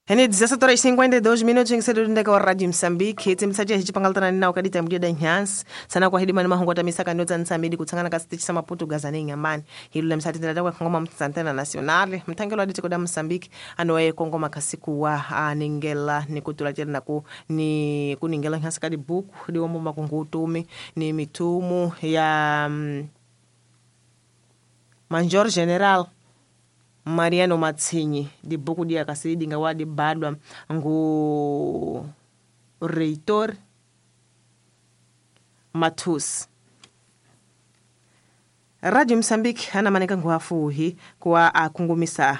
Ene 17h52 minutos em cedo ndeka wa Radio Mozambique tsimtsaje hichipangaltana nina ukadita mdia nyansi sana kwa hidima ni mahongo tamisa kanyoza nsamidi kutsangana ka sitichi sama Portugal ne nyamani hilo lemsati ndada kwa ngoma mtsantena nationale mtangelo adite koda Mozambique anoye kongoma kasiku wa aningela ni kutula tena ku ni kuningela nyansi kadi buku diwombo makungutumi ni mitumu ya Major General Mariano Matsinyi dibuku dia kasi dinga wa dibadwa ngu reitor Matus. Radio Mozambique ana maneka ngu afuhi kwa akungumisa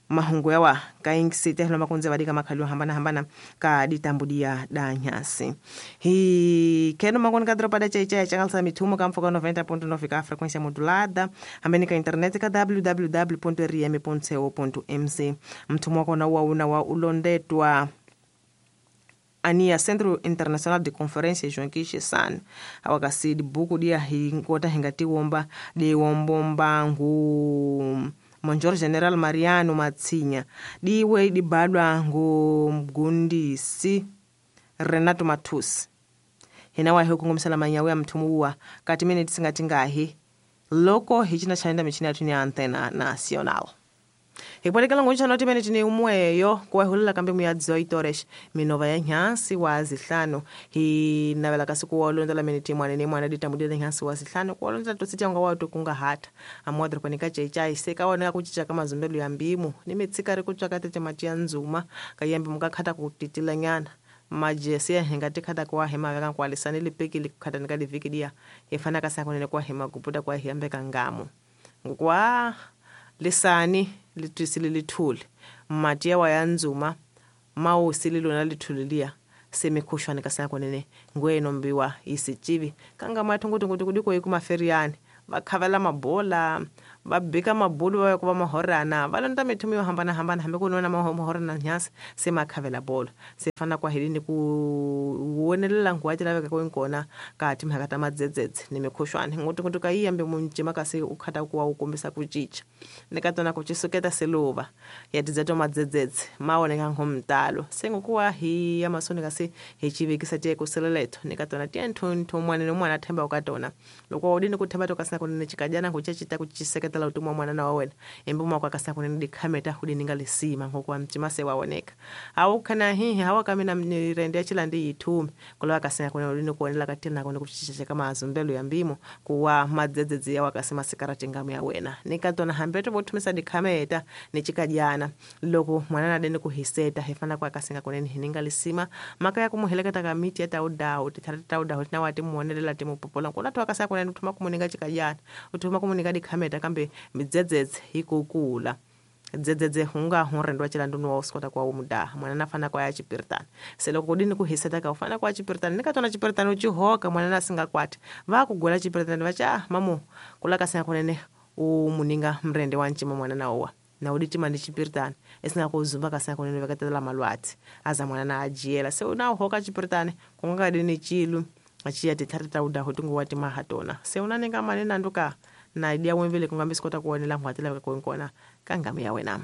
mahungu yawa kaingisite hilo makunze badika makhalio hambana hambana ka ditambudia danyasi hi keno makoni ka dropa da chaichai changalsa mithumo ka mfoka 90.9 ka frequência modulada hambeni ka internet ka www.rm.co.mz mthumo wakona wa una wa ulondetwa ania Centro Internacional de Conferência João San awakasi dibuku dia hinkota hingatiwomba diwombomba ngu Major General Mariano Matsinya diwe dibadwa ngu mgundisi Renato Matus hina wahe kungomisela manyawe ya mthumuwa kati mene tisingatingahi loko hichina chaenda michina yathu ni Antena Nacional hipolekela nguntsha noti mene tine umweyo kuwahulela kambe muya 18 horas minova ya nhansi wa zihlanu hinavela kasi kuwalondzela mene timwana ni mwana ditambudile nhansi wa zihlanu kuwalondzela tositya nga watu kungahata amuwadropanika chaichai sekaoneka kuchicha ka mazumbelo ya mbimu ni mitsika ri kutswaka tete mati ya ndzuma kayembe mukakhata kutitila nyana majesi ya hinga tikhata kuwahema veka nkuwalisani lipikili kukhatani liviki dia hifana kasakunene kuwahema kuputa kuwahiyambeka ngamu ngukwa lisani litwisile lithuli mati yawa ya ndzuma mawusile lona lithuli liya semikhushwane kasakunene ngwenombiwa isicivi kanga mathungutunguti kudiko ikumaferiani vakhavela mabola va bika mabulu va ku va mahorana va londa mithumu yo hambanahambana hambi ku nona mahorana nyasi se makhavela bolo se fana kwa helini ku wonelela nguwa ti laveka ku nkona ka timhaka ta madzedzedze ni mikhushwane ngutungutu ka yiyambe muncima kasi u khata ku wa u kombisa ku cinca ni ka tona ku cisuketa seluva ya tidzeto madzedzedze ma oneka ngomtalo se ngokuwa hi ya masoni kasi hi civekisa tiye kuseleleto ni ka tona tiye nthunthu mwana ni mwana themba ka tona loko u dini ku themba to kasi kunene chikajana nguchechita kuchiseketela utumwa mwana na wena embumo kwa kasa kunene dikhameta kudininga lisima ngokuwa mtima se waoneka awukhana hihi hawa kamina nirende chilandi yithume kulowa kasina kunene udini kuonela katina kone kuchichecheka mazumbelo ya mbimo kuwa madzedzedze yawa kasi masikarati ngamu ya wena nikatona hambeto vothumisa dikhameta nichikajana loko mwana nadeni kuhiseta hifana kwa kasinga kunene hininga lisima maka ya kumuheleketa kamiti ya taudawu tithata taudawu tina timuonelela timupopola nkuna tuwa kasa kunene uthuma kumuninga chikajana uthuma kumuninga dikhameta kambe midzedzedze ikukula dzedzedze hunga hunrendwa chilanduni wa usikota kwa umudaha mwana nafana kwa ya chipiritana seloko kudini kuhiseta ka ufana kwa chipiritana nikatona chipiritana uchihoka mwana nasingakwati vakugola chipiritana vacha mamu kula kasinga kunene umuninga mrende wa ncima mwana nawowa na uditima ni chipiritana esingakuzumba kasinga kunene vekatela malwatsi aza mwana na ajiyela se unawuhoka chipiritana kungakadini chilu achiya tithari taudahu tinguwa tona se unaninga mane nanduka na idia wemvele kungambi sikota kuonela ngwatela kunkona kangami ya wena.